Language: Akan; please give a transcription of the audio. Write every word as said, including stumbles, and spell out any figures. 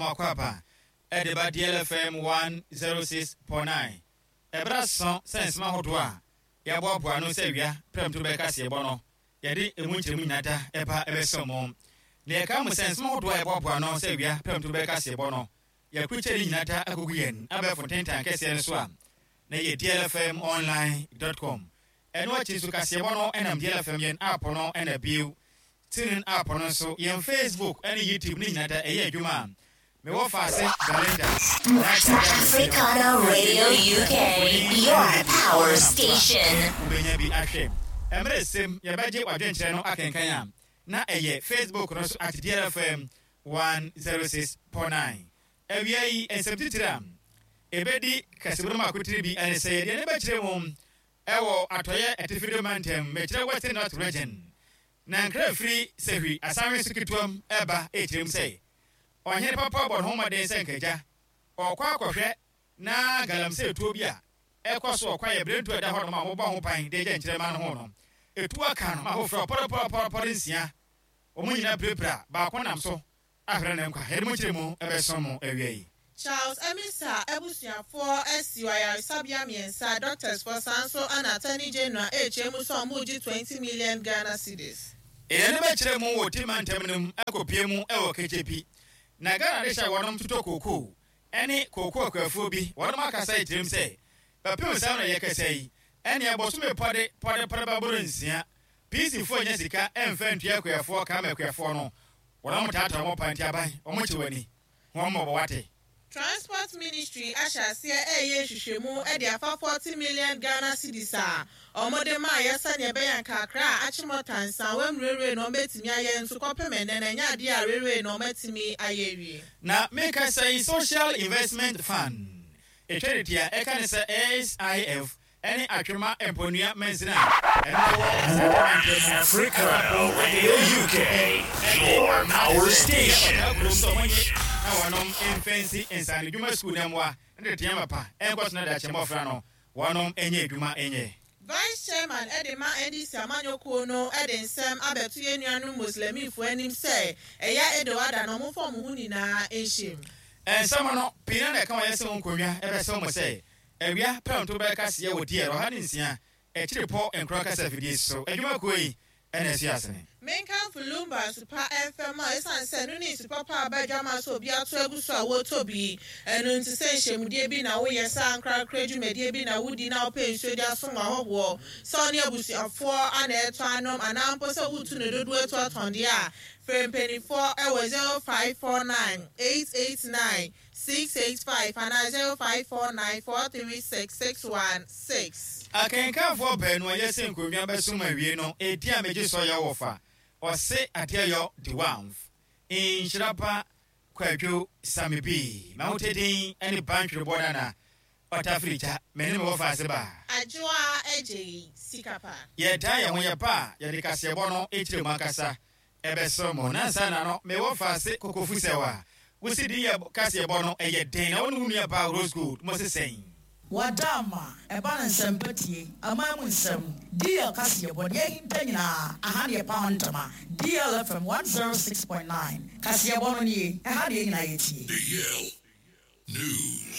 Akɔ ɛde ba D L F M one zero six point nine. Ɛberɛ aso sɛ nsɛm ahodoɔ a yɛaboaboa no sɛ awia prɛmto bɛka seɛbɔ no, yɛde emu nkyerɛmu nyinaa da ɛba ɛbɛsɛ mo. Na yɛka mo sɛ nsɛm ahodoɔ a yɛboaboa no sɛ awia prɛmto bɛka seɛbɔ no, yɛkrukyɛ ne nyinaa da akɔgu yɛn abɛɛfo ntentan kɛseɛ no so a na yɛ D L F M online dot com. Ɛno akyi nso, kaseɛbɔ no ɛnam D L F M yɛn app no, ɛna bio TuneIn app no nso, yɛn Facebook ɛne YouTube ne nyinaa da ɛyɛ adwuma a mewɔ faase Belinda. Africana Radio U K, your power station. Wobɛnya bi ahwɛ. Mmerɛ sɛm yɛbɛgye wadwenkyerɛ no akenkan a na ɛyɛ Facebook no so at D L F M one zero six point nine. Awia yi, nsɛm titiri a ɛbɛdi kasɛmu no mu akotiri bi ɛne sɛ yɛdeɛ ne bɛkyerɛ mu ɛwɔ Atɔyɛ Atifido Mantam, mekyerɛ Western North Region, na nkra firi Sɛhwi asanwe so ketewam ɛba ɛkyerɛ mu sɛ ɔhene papa bɔ ne ho mmɔden sɛ nkagya ɔkɔ akɔhwɛ na galamsey tuo bi a ɛkɔ so ɔkwa yɛ berentu a ɛda hɔ nom a wɔbɔ ho ban de agya nkyerɛma no ho no etu aka no ma ahoforɔ pɔrɔpɔrɔpɔrɔpɔrɔ nsia, wɔn nyinaa pirapira, baako nam so ahwere ne nkwa. Yɛde mo kyerɛ mu ɛbɛso mo awia yi. Charles Amissah abusuafoɔ asi ayaresabea mmiɛnsa, doctors foɔ saa nso ana Attorney General ɛrekyerɛ mu sɛ ɔmo gye twenty million Ghana cedis. Ɛyɛ no bɛkyerɛ mu wɔ Tima ntam no mu akɔpie mu ɛwɔ Kɛkyɛpi na Ghana de hyɛ wɔnom totɔ kookoo ɛne kookoo akuafoɔ bi wɔnom akasa ɛkyerɛm sɛ bɛpem saa na yɛkasa yi, ɛne ɛbɔsome pɔde pɔde pɔde bɛboro nsia, P C foɔ nya sika ɛmfa ntua akuafoɔ kama. Akuafoɔ no wɔnom taataa wɔn pa nti aban wɔn kye w'ani wɔn mmɔbɔ wate. Transport Ministry ahyɛ aseɛ ɛreyɛ nhwehwɛmu de afa forty million Ghana cedis a wɔde maa yɛ sɛnea ɛbɛyɛ nkakra a Achimota Nsawam railway na wɔbɛtumi ayɛ, nso kɔpem ɛnɛ na ɛnyɛ adeɛ a railway na wɔatumi ayɛ awie. Na meka sɛ Social Investment Fund ɛtwa ne tia ɛka ne sɛ S I F ɛne Atwema Mponua mansini a ɛno wɔ Africana Radio U K, your power station. Na wɔnom mfɛnsi nsane dwuma sukuu na mmoa ne tetea mapa ɛnkɔ so na dakyɛ mmɔfra no wɔnom ɛnyɛ adwuma ɛnyɛ. Vice Chairman ɛde ma N D C amanyɔkuo no ɛde nsɛm abɛto yɛn nuanom Muslimifoɔ anim sɛ ɛyɛ Eid al-Adha na ɔmo fɔ ɔmo ho nyinaa nhyɛm. Ɛnsɛm no pii na na ɛka wɔyɛ sɛ wo nkonnwa ɛbɛsɛ mo sɛ awia pɛnto bɛka seɛ wɔ D L ɔha ne nsia akyiri pɔ nkorɔ kasa fidie so adwumakuo yi ɛna ɛsi asene. Menkamfo Lumba nsupa ɛmfɛm a ɛsiane sɛ no ne nsupa pa aba adwama so obi ato agu so a wɔretɔ bi. Ɛno nti sɛ nhyɛmudie bi na woyɛ, sɛ ankorakora dwumadie bi na wodi na wopɛ nsuo de asom ahɔhoɔ, sɛ ɔne abusuafoɔ ana ɛtɔ anom anaa mpo sɛ wotu ne dodoɔ atu atɔndeɛ a, frɛ mpanimfoɔ ɛwɔ zero five four nine eight eight nine six eight five anaa zero five four nine four three six six one six. Akenkanfoɔ baanu a yɛsɛ nkonnwa bɛsom awie no, ɛdi a megye sɔ yɛ wɔ fa ɔse adeɛ yɔ de wamf nhyira pa Kwadwo Same bi ma wote din ne bantwerebɔ nana ɔtafiri gya mene me wɔfa ase baa. Adwoa Agye Sika Pa. Yɛdan yɛn ho yɛ pa a yɛde kaseɛbɔ no ɛkyerɛ mu ankasa ɛbɛsɛ mo nansa na no mewɔ fa ase kokofu sɛw a wosi din yɛ kaseɛbɔ no ɛyɛ den na wo ne wo nua baa Rose Gold mo se sɛn. Wada ama ɛba ne nsɛmpa tie aman mu nsɛm D L kaseɛbɔ deɛ ahinta nyinaa aha ne yɛpa ho ntama. D L F M one zero six point nine kaseɛbɔ no nie, ɛha deɛ nyinaa yɛtie. D L News.